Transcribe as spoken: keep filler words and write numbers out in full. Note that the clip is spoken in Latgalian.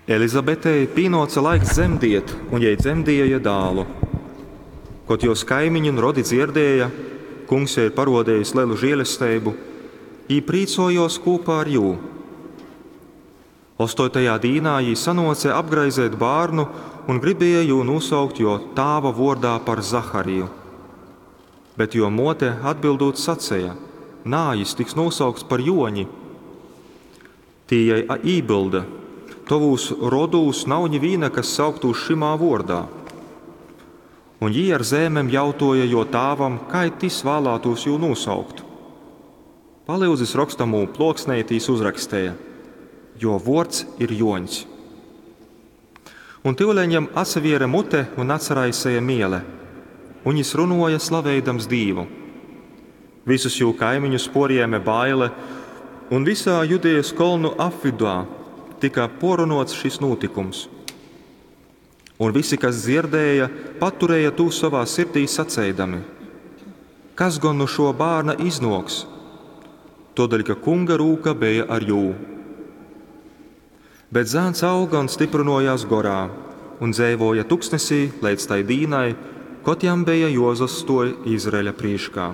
Elizabetei pīnōce laiks dzemdiet, un jei dzemdieja dālu. Kod jōs kaimiņi un rodi dzierdēja, Kungs jai ir parodējis lelu žielesteibu, jī prīcōjōs kūpā ar jū. Ostoitajā dīnā jī sanōce apgraizeit bārnu un gribēja jū nūsaukt jō tāva vōrdā par Zahariju. Bet jō mōte atbildūt saceja: Nā, jys tiks nūsaukts par Jōņi. Tī jai ībylda: Tovūs rodūs nav nivīna, kas sauktūs šymā vōrdā. Un jī ar zeimem jautōja jō tāvam, kai tys vālātūs jū nūsaukt. Palyudzis rokstamū plōksneiti, jys uzraksteja: Jō vōrds ir Jōņs. Un tyuleņ jam atsaviere mute un atsaraiseja miele, un jys runōja, slaveidams Dīvu. Visus jū kaimiņus pōrjēme baile, un visā Judejas kolnu apvydā tyka pōrrunōts šys nūtykums. Un visi, kas dzierdēja, paturēja tū sovā sirdī saceidami: Kas gon nu šō bārna iznōks? Tōdēļ, ka Kunga rūka beja ar jū. Bet zāns auga un styprynōjās gorā, un dzeivōja tuksnesī leidz tai dīnai, kod jam beja jōuzastōj Izraeļa prīškā.